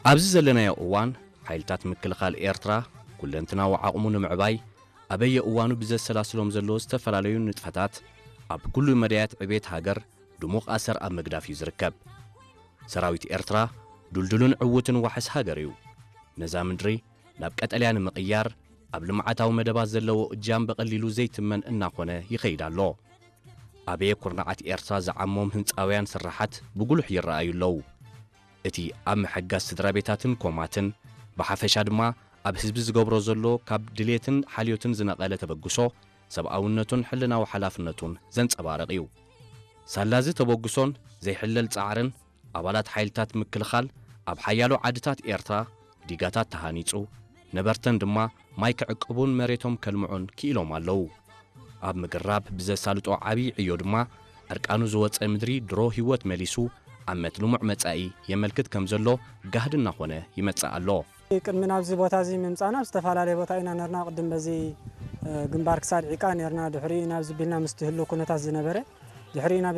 ኣብዚ ዘለናዮ እዋን ሓይልታት ምክልኻል ኤርትራ ኩለንትናዊ ዓቕሙ ንምዕባይ ኣበየ እዋኑ ብዘሰላስሎም ዘለዉ ዝተፈላለዩ ንጥፈታት ኣብ ኩሉ መዳያት ዕቤት ሃገር ድሙቕ ኣሰር ኣብ ምግዳፍ እዩ ዝርከብ። ሰራዊት ኤርትራ ዱልዱልን ዕዉትን ዋሕስ ሃገር እዩ። ነዛ ምድሪ ናብ ቀጠልያ ንምቕያር ኣብ ልምዓታዊ መደባት ዘለዎ እጃም ብቐሊሉ ዘይትመን እናኾነ ይኸይድ ኣሎ። ኣበየ ኩርናዓት ኤርትራ ዝዓሞም ህንጻውያን ስራሓት ብጉሉሕ ይረኣዩ ኣለዉ። እቲ ኣብ ምሕጋዝ ስድራ ቤታትን ኮማትን ብሓፈሻ ድማ ኣብ ህዝቢ ዝገብሮ ዘሎ ካብ ድሌትን ሓልዮትን ዝነቐለ ተበግሶ ሰብኣውነቱን ሕልናዊ ሓላፍነቱን ዘንጸባርቕ እዩ። ሳላዚ ተበግሶን ዘይሕለል ጻዕርን ኣባላት ሓይልታት ምክልኻል ኣብ ሓያሎ ዓድታት ኤርትራ ዲጋታት ተሃኒጹ፣ ነበርተን ድማ ማይ ክዕቅቡን መሬቶም ከልምዑን ክኢሎም ኣለዉ። ኣብ ምግራብ ብዘሳልጦ ዓብዪ ዕዮ ድማ ዕርቃኑ ዝወጸ ምድሪ ድሮ ህይወት መሊሱ ኣብ መትልሙዕ መጻኢ የመልክት ከም ዘሎ ጋህዲ እናኾነ ይመጽእ ኣሎ። ቅድሚ ናብዚ ቦታ እዚ ምምጻና ኣብ ዝተፈላለየ ቦታ ኢና ነርና። ቅድም በዚ ግንባር ክሳድ ዒቃ ነርና። ድሕሪ ናብዚ ቢልና ምስቲ ህሉ ኩነታት ዝነበረ ድሕሪ ናብ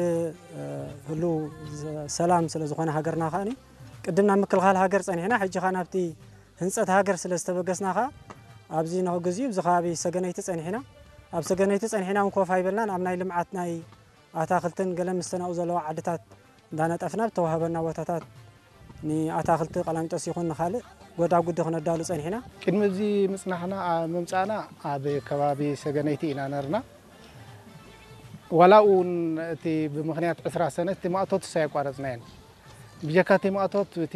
ህሉ ሰላም ስለ ዝኾነ ሃገርና ከኣኒ ቅድም ናብ ምክልኻል ሃገር ጸኒሕና። ሕጂ ኸኣ ናብቲ ህንጸት ሃገር ስለ ዝተበገስና ኸኣ ኣብዚ ንኽግዚኡ ኣብዚ ከባቢ ሰገነይቲ ጸኒሕና። ኣብ ሰገነይቲ ጸኒሕና እውን ኮፍ ኣይበልናን። ኣብ ናይ ልምዓት ናይ ኣታኽልትን ገለ ምስተናኡ ዘለዋ ዓድታት እንዳነጠፍና ብተዋህበና ቦታታት ንኣታኽልቲ ቀላሚጦስ ይኹን ንኻልእ ጎዳጉዲ ክነዳሉ ጸኒሕና። ቅድሚ እዚ ምጽናሕና፣ ኣ-፣ ምምጻእና ኣብ ከባቢ ሰገነይቲ ኢና ነርና። ዋላ እውን እቲ ብምኽንያት ዕስራ ሰነ እቲ ማእቶት እሳ ኣየቋረጽናዮን። ብጀካ እቲ ማእቶት እቲ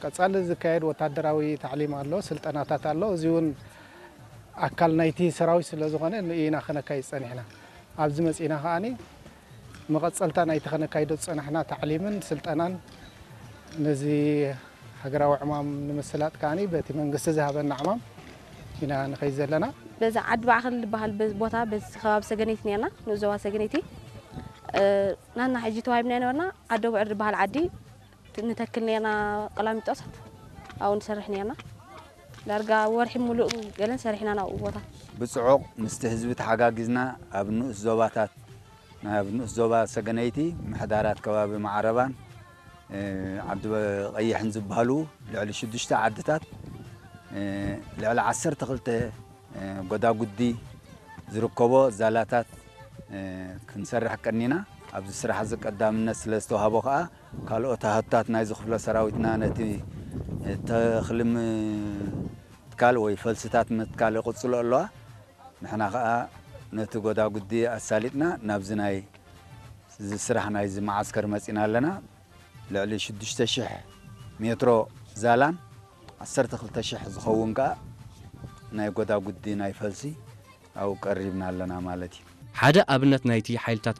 ቀጻሊ ዝካየድ ወታደራዊ ታዕሊም ኣሎ፣ ስልጠናታት ኣሎ። እዚ እውን ኣካል ናይቲ ሰራዊት ስለ ዝኾነ ንኡ ኢና ከነካይድ ጸኒሕና። ኣብዚ መጺእና ከኣኒ መቐጸልታ ናይቲ ከነካይዶ ዝጸናሕና ታዕሊምን ስልጠናን ነዚ ሃገራዊ ዕማም ንምስላጥ ከኣኒ በቲ መንግስቲ ዝሃበና ዕማም ኢና ንኸይድ ዘለና። በዚ ዓዲ ባዕኸል ዝበሃል በ-፣ ቦታ በዚ ከባቢ ሰገነይቲ ነርና፣ ንኡስ ዞባ ሰገነይቲ። እ፣ ናና ሕጂ ተዋሂብና ነበርና፣ ዓዲ ኣቡዕር ዝበሃል ዓዲ ት-፣ ንተክል ነርና፣ ቀላሚጦስ ኣብኡ ንሰርሕ ነርና። ዳርጋ ወርሒ ሙሉእ ገለን ሰሪሕና ናብኡ ቦታ። ብጽዑቕ ምስቲ ህዝቢ ተሓጋጊዝና ኣብ ንኡስ ዞባታት፣ ናብ ንኡስ ዞባ ሰገነይቲ፣ ምሕዳራት ከባቢ ማዕረባን፣ እ፣ ዓዲ ቀይሕን ዝበሃሉ ልዕሊ ሽዱሽተ ዓድታት፣ እ፣ ልዕሊ ዓሰርተ ክልተ፣ እ፣ ጎዳጉዲ ዝርከቦ ዛላታት፣ እ፣ ክንሰርሕ ቀኒና። ኣብዚ ስራሕ እዚ ቀዳምነት ስለ ዝተዋህቦ ከኣ፣ ካልኦት ሃህትታት ናይዚ ክፍለ ሰራዊትና ነቲ፣ እ፣ ተኽሊ ምትካል ወይ ፈልስታት ምትካል ይቕጽሎ ኣለዋ። ንሕና ከኣ ነቲ ጎዳጉዲ ኣሳሊጥና ናብዚ ናይ፣ እዚ ስራሕ ናይዚ መዓስከር መጺና ኣለና። ልዕሊ ሽዱሽተ ሽሕ ሜትሮ ዛላን ዓሰርተ ክልተ ሽሕ ዝኸውን ከኣ ናይ ጎዳጉዲ ናይ ፈልሲ ኣብኡ ቀሪብና ኣለና ማለት እዩ። ሓደ ኣብነት ናይቲ ሓይልታት